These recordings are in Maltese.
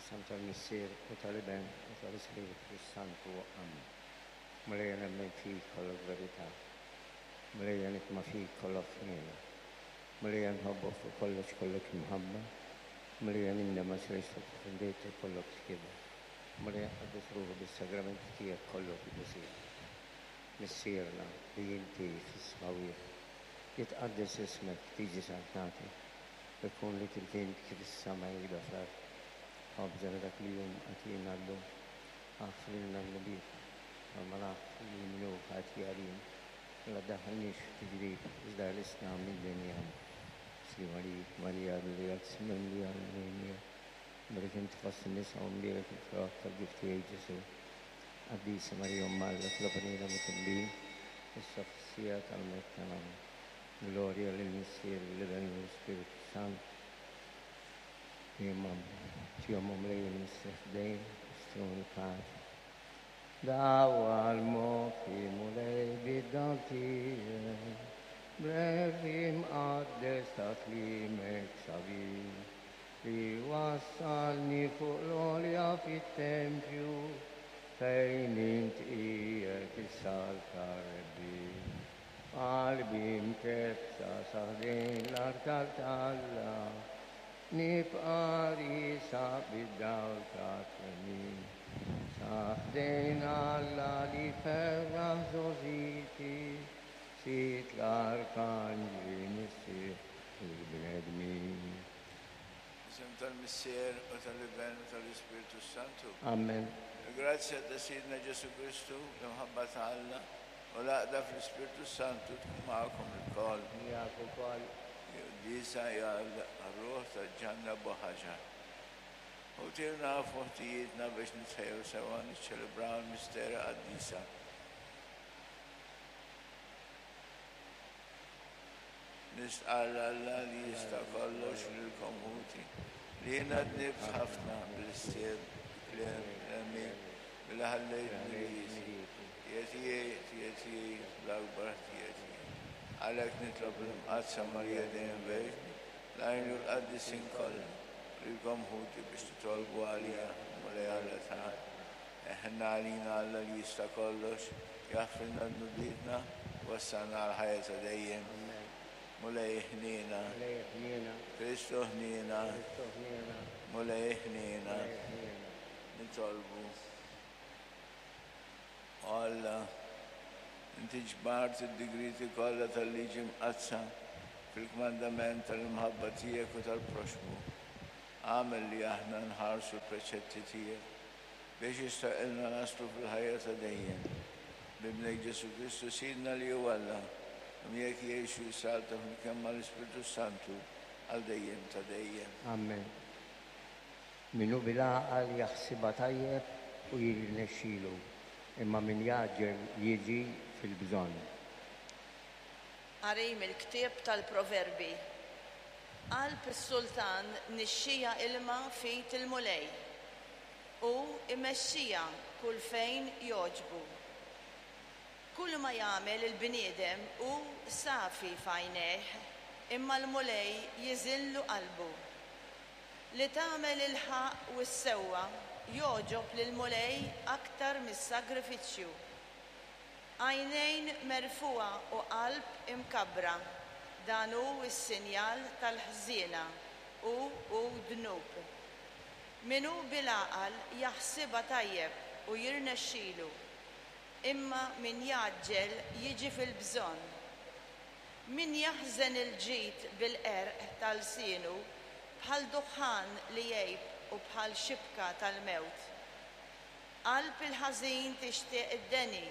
Fl-isem tal-Missier u tal-Iben u tal-Ispirtu s-Santu. Amen. Mulejja nemmen fik kollok verità. Mulejja nitma' fik kollok ħniena. Mulejja nħobbok fuq kollox kollok imħabba. Mulejja nindem għax għixtek offendejtek kollok tjieba. Mulejja nqaddes ruħi bis-sagramenti tiegħek kollok qdusija. Missierna li inti fis-smawwiet, jitqaddes ismek, tiġi saltnatek, Ikun li trid int kif is-sema jibda fl-art. Ħobżna ta' kuljum agħtina llum. Aħfrilna dnubietna, bħalma naħfru lil min hu ħati għalina. U la ddaħħalniex f'tiġrib, iżda ħlisna minn deni. Amen. Sliem għalik, Marija, mimlija mimlija l-Mulej miegħek. Mbierek inti fost in-nisa u mbierek il-frott tal-ġuf tiegħek, Ġesù. Qaddisa Marija Omm Alla, itlob għalina midinbin, issa u fis-siegħa tal-mewt tagħna. Amen. Glorja lill-Missier, lill-Iben u lill-Ispirtu s-Santu. Imma tihom o Mulej il-mistrieħ dejjem, istruni paċi. Dawwal moħħi Mulej bid-dawl tiegħek, bl-għerf imqaddes ta' kliemek sabiħ, li wassalni fuq l-għolja fit-tempju, fejn int qiegħed is-saltna rebbieħ. Qalbi mkebbsa sa ħdejn l-artal t'Alla, nibqa' riesaq bid-dawl tat-twemmin. Sa ħdejn Alla li ferraħ żgħożiti, Sid l-arkanġli, Missier il-bnedmin. Fl-isem tal-Missier, u tal-Iben, u tal-Ispirtu s-Santu. Amen. Il-grazzja ta' Sidna Ġesù Kristu, l-imħabba ta' Alla, U l-għaqda fl-Ispirtu s-Santu tkun magħkom ilkoll. Miegħek ukoll. Quddiesa hija għar-ruħ ta' Ġanna Buħaġar. U tirna f'moħtijietna biex nitħejjew sewwa niċċelebraw il-misteri qaddisa. Nistqarr Alla li jista' kollox lilkom ħuti, li jiena dnibt ħafna bil-ħsieb, bil-kliem, bl-għemil, billi ħallejt dnubieti. Ħtija tiegħi, ħtija tiegħi, l-akbar ħtija tiegħi. Għalhekk nitlob lill-Imqaddsa Marija dejjem Verġni, l-anġli u l-qaddisin kollha, u lilkom ħuti biex titolbu għalija lill-Mulej Alla tagħna. Iħenn għalina Alla li jista' kollox, jaħfrilna dnubietna, u wassalna għall-ħajja ta' dejjem. Mulej ħniena. Mulej ħniena. Kristu ħniena. Kristu ħniena. Mulej ħniena. Mulej ħniena. Nitolbu. O Alla, inti ġbart id-digrieti kollha tal-Liġi Mqaddsa fil-kmandament tal-imħabba tiegħek u tal-proxxmu. Agħmel li aħna nħarsu l-preċetti tiegħek, biex jistħoqqilna naslu fil-ħajja ta' dejjem. B'Ibnek Ġesù Kristu Sidna li hu Alla, u miegħek jgħix u jsaltan flimkien mal-Ispirtu s-Santu għal dejjem ta' dejjem. Amen. Min hu bil-għaqal jaħsibha tajjeb u jirnexxilu, imma min jgħaġġel jiġi fil-bżonn. Qari mill-ktieb tal-Proverbi. Qalb is-sultan nixxiha ilma f'id il-Mulej, hu jmexxiha kull fejn jogħġbu. Kulma jagħmel il-bniedem hu safi f'għajnejh, imma l-Mulej jiżinlu qalbu. Li tagħmel il-ħaqq u s-sewwa jogħġob lill-Mulej aktar mis-sagrifiċċju. Għajnejn merfugħa u qalb imkabbra, dan hu s-sinjal tal-ħżiena u hu dnub. Min hu bil-għaqal jaħsibha tajjeb u jirnexxilu, imma min jgħaġġel jiġi fil-bżonn. Min jaħżen il-ġid bil-qerq ta' lsienu bħal duħħan li jgħib u bħal xibka tal-mewt. Qalb il-ħażin tixtieq id-deni,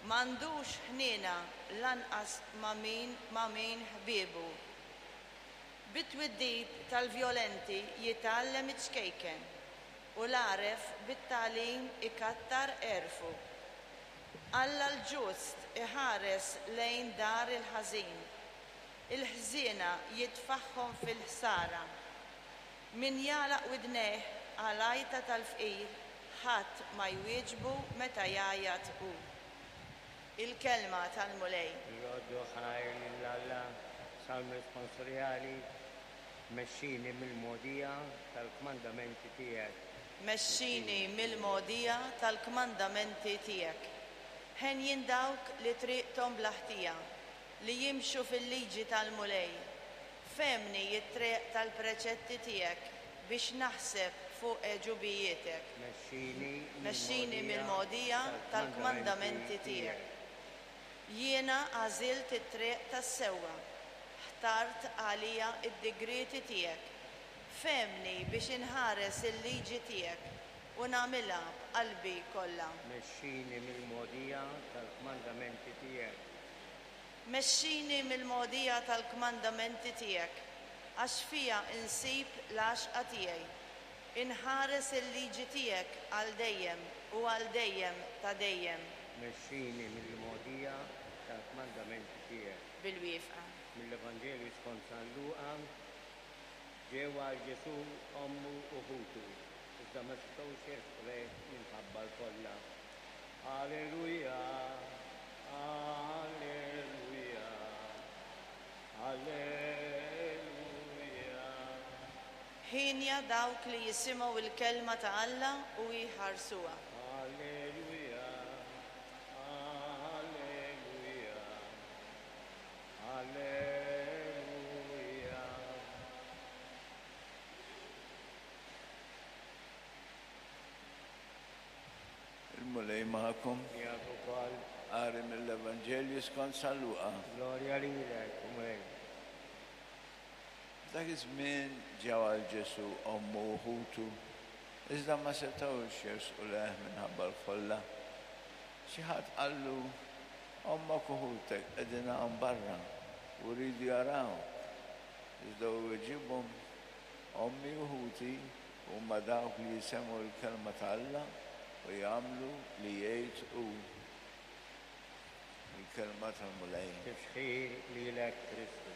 m'għandux ħniena lanqas ma' min ma' min ħbiebu. Bit-twiddib tal-vjolenti jitgħallem iċ-ċkejken, u l-għaref bit-tagħlim ikattar għerfu. Alla l-ġust iħares lejn dar il-ħażin, il-ħżiena jitfagħhom fil-ħsara. Min jagħlaq widnejh għal-għajta tal-fqir, ħadd ma jwieġbu meta jgħajjat hu. Il-Kelma tal-Mulej. Irroddu ħajr lil Alla, Salm Responsorjali. Mexxini mill-mogħdija tal-kmandamenti tiegħek. Mexxini mill-mogħdija tal-kmandamenti tiegħek. Henjin dawk li triqthom bla ħtija, li jimxu fil-liġi tal-Mulej. Fehmni t-triq tal-preċetti tiegħek biex naħseb fuq għeġubijietek. Mexxini Mexxini mill-mogħdija tal-kmandamenti tiegħek. Jiena għażilt it-triq tas-sewwa, ħtart għalija d-digrieti tiegħek. Fehmni biex inħares il-liġi tiegħek u nagħmilha b'qalbi kollha. Mexxini mill-mogħdija tal-kmandamenti tiegħek. Mexxini mill-mogħdija tal-kmandamenti tiegħek, għax fiha insib l-għaxqa tiegħi. Inħares il-liġi tiegħek għal dejjem u għal dejjem ta' dejjem. Mexxini mill-mogħdija tal-kmandamenti tiegħek. Bil-wieqfa. Mill-Evanġelju skont San Luqa, Ġew għal Ġesù ommu u ħutu, iżda ma setgħux jersqu lejh minħabba l-folla. Alleluja, Alleluja, Alleluja. Hienja dawk li jisimgħu l-kelma ta' Alla u jħarsuha. Alleluja, Alleluja, Alleluja. Il-Mulej magħkom. Miegħek ukoll. Qari mill-Evanġelju skont San Luqa. Glorja lilek, o Mulej. F'dak iż-żmien ġew għal Ġesù ommu u ħutu, iżda ma setgħux jersqu lejh minħabba l-folla. Xi ħadd qallu, Ommok u ħutek qegħdin hawn barra u jridu jarawk. Iżda hu weġibhom, Ommi u ħuti huma dawk li jisemgħu l-kelma ta' Alla u jagħmlu li jgħid hu. Il-kelma tal-Mulej. Tifħir lilek Kristu.